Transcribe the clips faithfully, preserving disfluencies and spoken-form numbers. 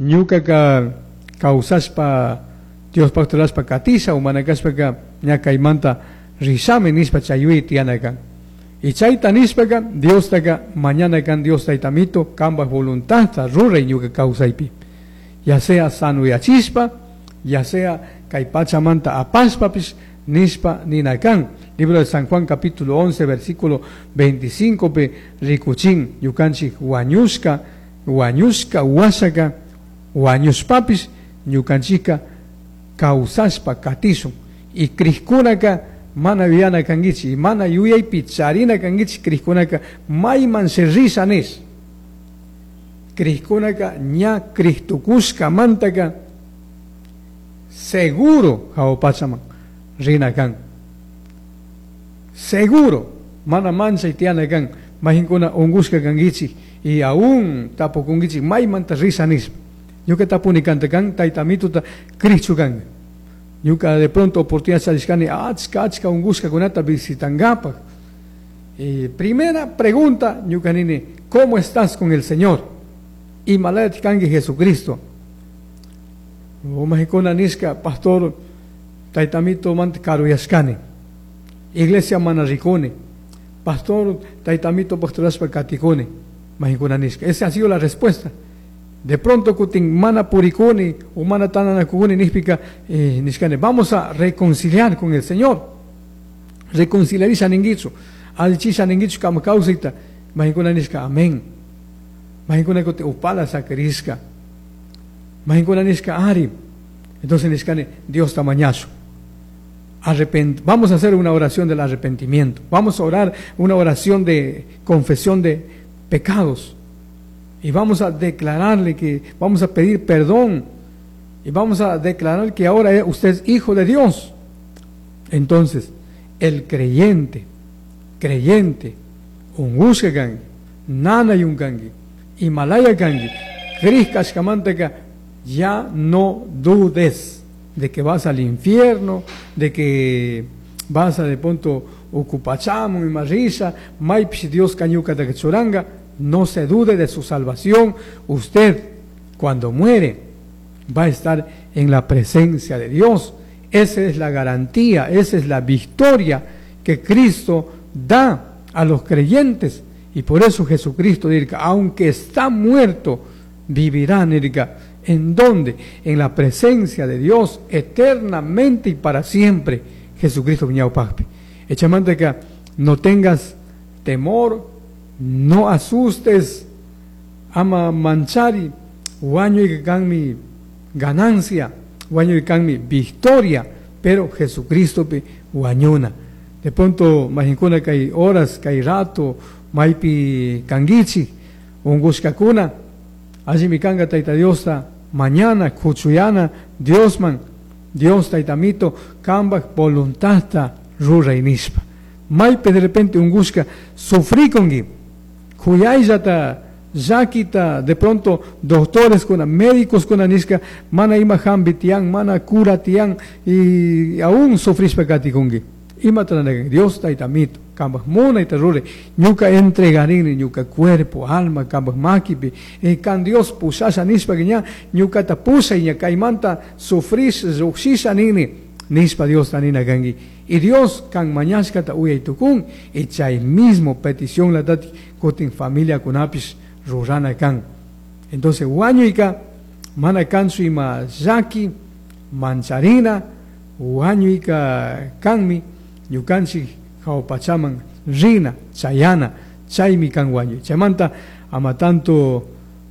Ñucaca causashpa Diospaj rurashpa katisha o mana kashpaka ña kaymanta rishami nishpa chay yuyay tiyana kan. Y chayta nishpaka Diostaka mañana kan Dios taytamito kambaj voluntadta ruray ñuka kawsaypi. Ya sea sanuyachishpa, ya sea kay pachamanta apashpapish nishpa nina kan. Libro de San Juan capítulo once versículo veinticinco pe rikuchin ñukanchik wañushka, wañushka washaka wañushpapish ñukanchika kawsashpa katishun. Y krikkunaka mana yuyana kankichik, mana yuyaypi charina kankichik krikkunaka mayman se risha nish. Krikkunaka ña Cristokushkamantaka seguro jahua pachaman rina kan. Seguro, mana manchay tiyana kan, majinkuna ungushka kankichik y aún tapukunkichik maymanta risha nishpa. Ñuka tapuni kanta kan, taytamituta krichu kan. Ñuka de pronto oportunidad charishkani achka achka ungushkakunata visitangapaj. Y primera pregunta, ñuka nini, ¿cómo estás con el Señor? Imalayat kanki Jesucristo. Majinkuna nishka, pastor, taytamito manta karuyashkani. Iglesia mana rikuni. Pastor, taytamito pastorashpa katikuni. Majinkuna nishka. Esa ha sido la respuesta. De pronto kutin mana purikuni o mana tananakuni nishpika, eh, nishkani, vamos a reconciliar con el Señor. Reconciliarisha ninguichu. Alchisha ninguichu kama kausita. Majinkuna nishka, amén. Majinkuna kuti upala sakrishka. Majinkuna nishka ari. Entonces nishkani, Dios tamañazo. Arrepent-, vamos a hacer una oración del arrepentimiento. Vamos a orar una oración de confesión de pecados. Y vamos a declararle que vamos a pedir perdón. Y vamos a declarar que ahora usted es hijo de Dios. Entonces, el creyente, creyente, ungushka kanki, nanayun kanki, Himalaya kanki, krishkashkamantaka, ya no dudes de que vas al infierno, de que vas a de pronto ocupachamo y marrisa, maypish Dios cañuca de churanga. No se dude de su salvación. Usted, cuando muere, va a estar en la presencia de Dios. Esa es la garantía, esa es la victoria que Cristo da a los creyentes. Y por eso Jesucristo dice, aunque está muerto, vivirá, nirka. ¿En dónde? En la presencia de Dios, eternamente y para siempre. Jesucristo ñawpajpi. Echamante que no tengas temor, no asustes, ama manchari, wañuy kan mi ganancia, wañuy kan mi victoria, pero Jesucristo pi wañuna. De pronto, majinkuna kay horas, kay rato, maypi kangichi, ungushkakuna, allí mi kanga tayta Diosta, mañana, kuchuyana, Diosman, Dios taytamito, kambaj voluntadta ruray nishpa. Maypi de repente ungushka, sufrikongi, kuyayllata, llakita, de pronto doctores kuna, médicos kuna nishka, mana ima hambi tiyan, mana cura tiyan, y aún sufrishpa katikungi. Imata rurana Dios taytamito, kambaj munayta ruray, ñuka entregarini, ñuka cuerpo, alma, kambaj makipi, y kan Dios pushasha nishpa ña, ñukata pushay ña kaymanta sufrish, llukshisha nini, nishpa Dios tanina kanki. Y Dios kan mañashkata uyay tukun, y chay mismo petición la tati kutin familia kunapis rurana kan. Entonces wañuyka mana kanchu ima llaki, mancharina, wañuyka kanmi, ñukanchik jawpachaman rina, chayana, chaymi kan wañuy. Chaymanta ama tanto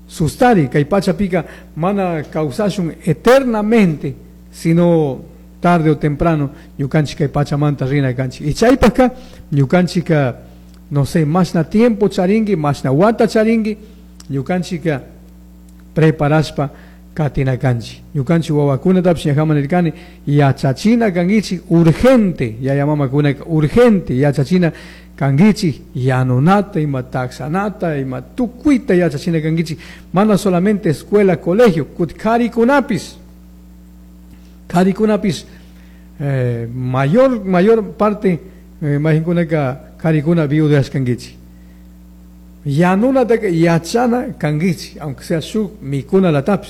sustari, kay pachapika mana kawsashun eternamente, sino tarde o temprano ñukanchik kay pachamanta rina kanchik. Y chaypajka ñukanchika, no sé, mashna tiempo charinki, mashna wata charinki, ñukanchika preparashpa katina kanchik. Ñukanchik wawakunatapish ñajaman nirkani, yachachina kankichik urgente, yaya mamakunaka urgente, yachachina kankichik yanunata, ima taxanata, ima tukuyta yachachina kankichik, mana solamente escuela, colegio, kut karikunapis, karikunapis, eh, mayor, mayor parte, eh, mahinkunaka karikuna viudas kankichik. Yanunataka yachana kankichik, aunque sea shuk mikuna latapis.